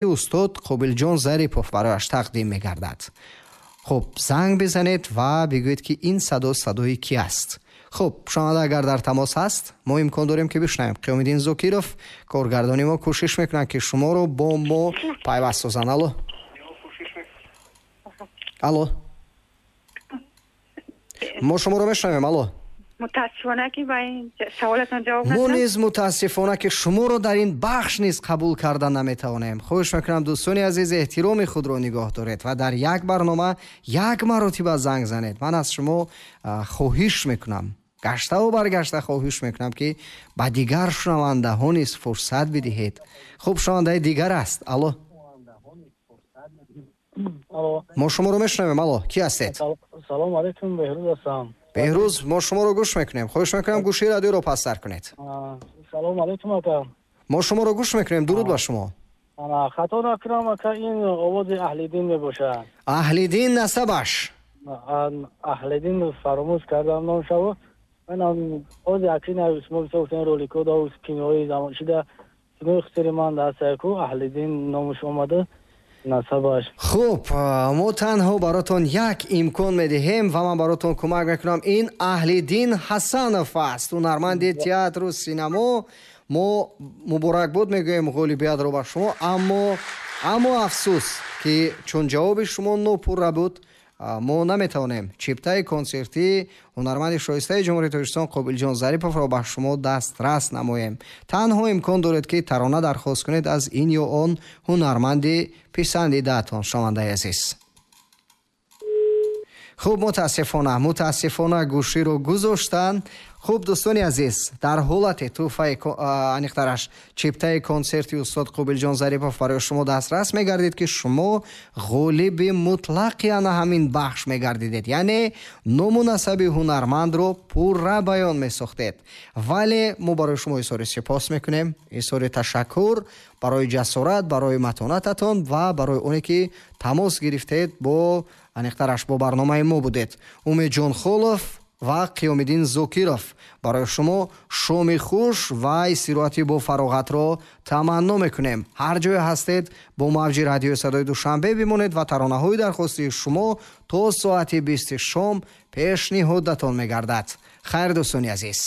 Устод Қобилҷон Зарипов барояш тақдим мегардад. Хуб, занг бизанед ва бигӯед, ки ин садо садои кӣ аст. Хуб, шунаванда агар дар тамос ҳаст, мо имкон дорем, ки бишнавем. Қиёмиддин Зокиров, коргардони мо, кӯшиш мекунанд, ки шуморо бо мо пайваст созанд. Алло, алло, мо шуморо мешунавем, алло. Мутаассифона, ки ба ин саволатон ҷавоб мо низ мутаассифона, ки шуморо дар ин бахш низ қабул карда наметавонем. Хоҳиш мекунам, дӯстони азиз, эҳтироми худро нигоҳ доред ва дар як барнома як маротиба занг занед. Ман аз шумо хоҳиш мекунам, гаштаву баргашта хоҳиш мекунам, ки ба дигар шунавандаҳо низ фурсат бидиҳед. Хуб, шунавандаи дигар аст. Алло, мо шуморо мешунавем, алло, кӣ ҳастед? Салому алайкум, Беҳрӯз ҳастам. Беҳрӯз, мо шуморо гӯш мекунем. Хоҳиш мекунам, гӯшии радиоро пасттар кунед. Салому алайкум, ака. Мо шуморо гӯш мекунем, дуруд ба шумо. Хато накунам, ака, ин овози Аҳлиддин мебошад. Аҳлиддин, насабаш? Аҳлиддин, фаромӯш кардам номшаво. Манам ози акина шумо бисёр гуфтен, роликҳо да кинои замон шида, кинои хусури ман дастаяку Аҳлиддин номаш омада, насабаш. Хуб, мо танҳо баротон як имкон медиҳем ва ман баротон кӯмак мекунам. Ин Аҳлиддин Ҳасанов аст, ҳунарманди театру синамо. Мо муборакбод мегӯем ғолибиятро ба шумо, аммо афсӯс, ки чун ҷавоби шумо нопурра буд, мо наметавонем чиптаи консертии ҳунарманди шоистаи Ҷумҳурии Тоҷикистон Қобилҷон Зариповро ба шумо дастрас намоем. Танҳо имкон доред, ки тарона дархост кунед аз ин ё он ҳунарманди писандидаатон, шунавандаи азиз. Хуб, мутаассифона, гӯширо гузоштанд. Хуб, дӯстони азиз, дар ҳолате тӯҳфаи, аниқтараш чиптаи консерти устод Қобилҷон Зарипов барои шумо дастрас мегардид, ки шумо ғолиби мутлақи ана ҳамин бахш мегардидед, яъне ному насаби ҳунармандро пурра баён месохтед. Вале мо барои шумо изҳори сипос мекунем, изҳори ташаккур барои ҷасорат, барои матонататон ва барои оне ки тамос гирифтед, бо аниқтараш бо барномаи мо будед. Умедҷон Холов ва Қиёмиддин Зокиров барои шумо шоми хуш ва истироҳати бо фароғатро таманно мекунем. Ҳар ҷое ҳастед, бо мавҷи радиои Садои Душанбе бимонед ва таронаҳои дархостии шумо то соати 20-и шом пешниҳодатон мегардад. Хайр, дӯстони азиз.